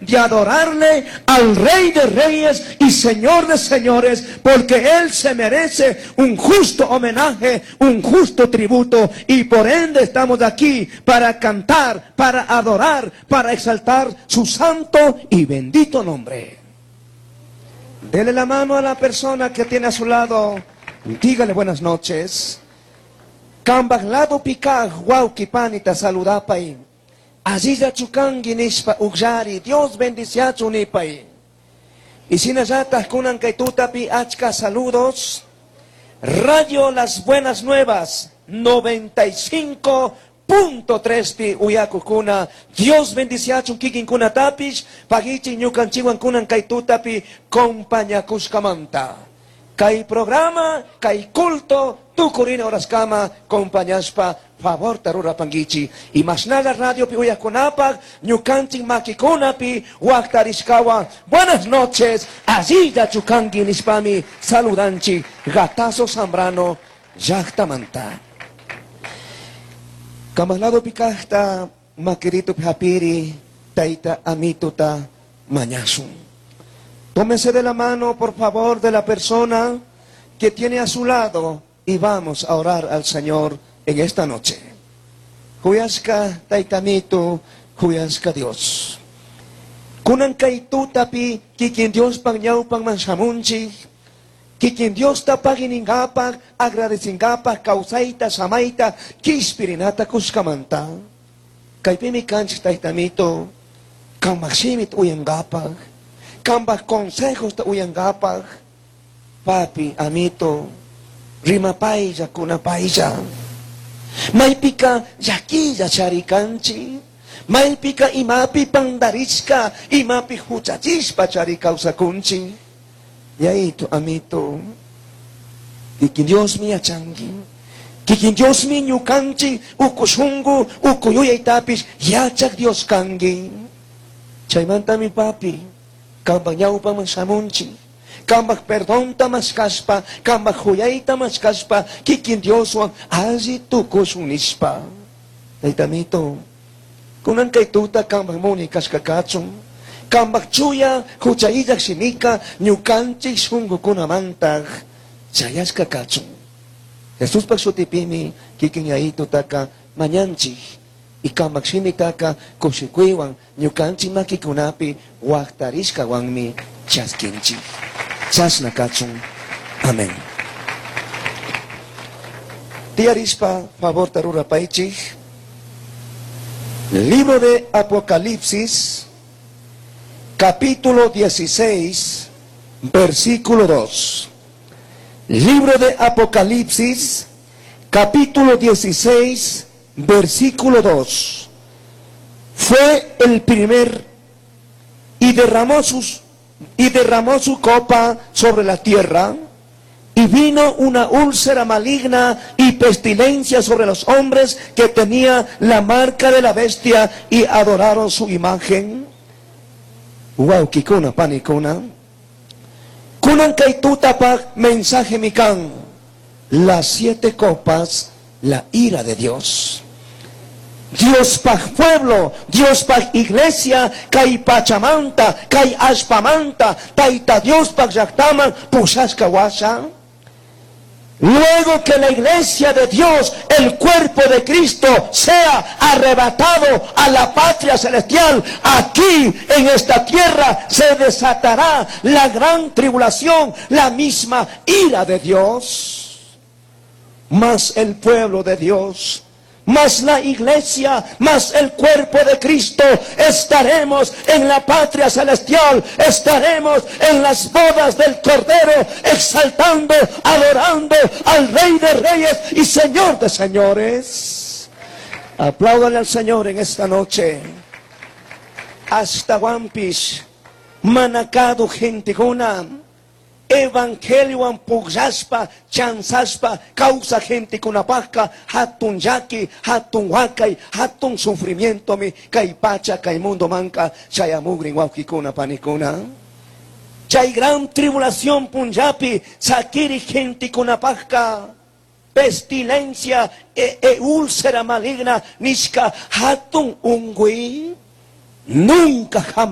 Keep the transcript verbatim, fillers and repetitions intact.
de adorarle al Rey de Reyes y Señor de Señores, porque Él se merece un justo homenaje, un justo tributo, y por ende estamos aquí para cantar, para adorar, para exaltar su santo y bendito nombre. Dele la mano a la persona que tiene a su lado. Dígale buenas noches. Cambaj ladopi caj huauqui panita saludapai. Allilla chucangui nishpa ugllari. Dios bendiciachun nipai. Y shinallataj kunan kay tutapi achka saludos. Radio Las Buenas Nuevas noventa y cinco punto tres pi uyakukuna. Dios bendiciachun kikinkunatapish pagichi ñukanchikwan kunan kay tutapi compañakushkamanta. Kay programa, kay culto, tukurina horaskama compañashpa favorta rurapanguichi. Y mashnalla radio pi uyakunapak, ñukanchik makikunapi waktarishkawan. Buenas noches, allilla chukangi nishpami saludanchi Gatazo Zambrano llaktamanta. Cambaj ladopi kajta makirito hapiri taita amituta mañashun. Tómese de la mano, por favor, de la persona que tiene a su lado y vamos a orar al Señor en esta noche. Kuyashka taitamito, kuyashka Dios. Kunan kay tutapi, kikin Diospaj ñawpakman shamunchik, kikin Diosta paginingapaj, agradecingapaj, kawsayta, samaita, kishpirinata kushkamanta. Kaypimi kanchik taitamito, kambaj shimita uyangapaj, kambaj consejosta uyangapaj, papi, amito, rimapaylla, kunapaylla. Maypika llaquilla charikanchik, maypika imapi pandarishka, imapi huchachishpa chari kawsakunchik. Yayito, amito, kikin Diosmi yachanki. Kikin Diosmi ñukanchik uku shunku, uku yuyaytapish yachak Dios kanki. Chaymantami papi, kambaj ñawpaman shamunchik. Kambaj perdonta mashkashpa, kambaj huyayta mashkashpa, kikin Dioswan alli tukushun nishpa. Taytamito, kunan kay tuta kambaj munay kashka kachun. Kambaj chuya hucha illaj shimika ñukanchik shunkukunamantaj chayashka kachun. Jesuspaj shutipimi kikin yayitutaka mañanchik. Y kambaj shimitaka kushikuywan ñukanchik makikunapi waktarishkawanmi chaskinchik. Chashna kachun. Amén. Tiyarishpa favorta rurapaichik. Libro de Apocalipsis, capítulo dieciséis, versículo dos. Libro de Apocalipsis, capítulo dieciséis, versículo dos. Fue el primer y derramó sus y derramó su copa sobre la tierra, y vino una úlcera maligna y pestilencia sobre los hombres que tenía la marca de la bestia y adoraron su imagen. Huauquicuna, panicuna. Kunan kay tutapaj mensaje mikan. Las siete copas, la ira de Dios. Diospaj pueblo, Diospaj iglesia, kay pachamanta, kay allpamanta, Taita Diospaj llaktaman, pushashka huasha. Luego que la iglesia de Dios, el cuerpo de Cristo, sea arrebatado a la patria celestial, aquí en esta tierra se desatará la gran tribulación, la misma ira de Dios. Mas el pueblo de Dios, mas la iglesia, mas el cuerpo de Cristo, estaremos en la patria celestial, estaremos en las bodas del Cordero, exaltando, adorando al Rey de Reyes y Señor de Señores. Apláudale al Señor en esta noche. Ashtahuanpish, mana cazuj gentecuna, evangeliowan pugllashpa, chanzashpa, kawsaj gentecunapajka, hatun llaki, hatun huakay, hatun sufrimientomi, kay pacha, kay mundomanka, chayamugrin huauquicuna, panicuna. Chay gran tribulación punllapi, saquiri gentecunapajka, pestilencia e, e úlcera maligna, nishka hatun ungüi, nunca jamás.